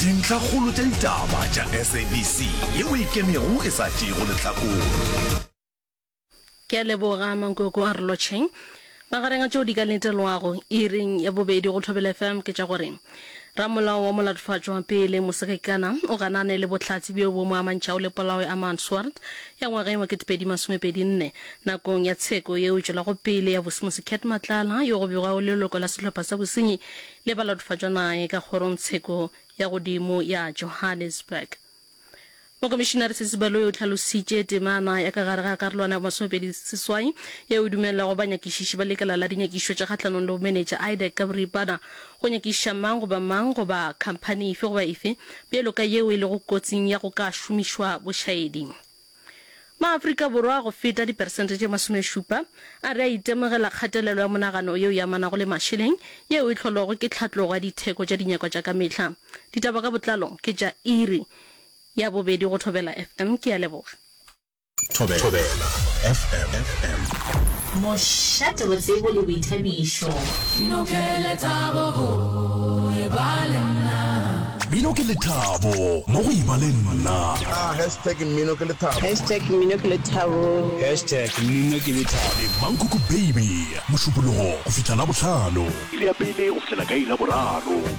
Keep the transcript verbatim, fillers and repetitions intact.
Dintlhakgolo tša ditaba tša S A B C yeo e ikemego e sa tšeego lehlakore. Ke a leboga Mankoko a re lotšheng. Magareng a tšeo di ka letelwago iring ya bobedi go Thobela F M ke tša gore ramolao wa molatofatšwa pele Mosekekana o ganane le bohlatse bjo bo mo amantšhago le polao ya Armand Swart ya ngwageng wa ketepedi masomepedi nne nakong ya tsheko yeo e tšwelago pele ya Vusimusi Cat Matlala, yo go begwago leloko la sehlopha sa bosenyi le balatofatšwa naye ka kgorongtsheko ya godimo ya Johannesburg. Mokomišinare Sesi Baloyi o hlalositše temana ya ka gare ga karolwana ya masomepedi seswai yeo e dumelelago banyakišiši ba lekala la dinyakišišo tša kgahlanong le bomenetša, IDAC ka boripana, go nyakišiša mang goba mang goba khamphani efe goba efe bjalo ka yeo e lego kotsing ya go ka šomišwa bošaedi. Maafrika Borwa go feta diperesente tše masomešupa a re a itemogela kgatelelo ya monagano yeo e amanago le mašeleng yeo e hlolwago ke tlhatlogo ya ditheko tša dinyakwa tša ka mehla. Ditaba ka botlalo ke tša iri ya bobedi go Thobela F M. Ke a leboga. Thobela F M. Mošate wa tsebo le boithabišo. Mmino ke lethabo go e ba le nna. Mmino ke lethabo mo go eba le nna. Ah, hashtag mmino ke lethabo. Hashtag mmino ke lethabo. Hashtag mmino ke lethabo. Le Mankoko Baby, Mošupologo go fihla Labohlano. Iri ya pele go fihlela ka iri ya boraro.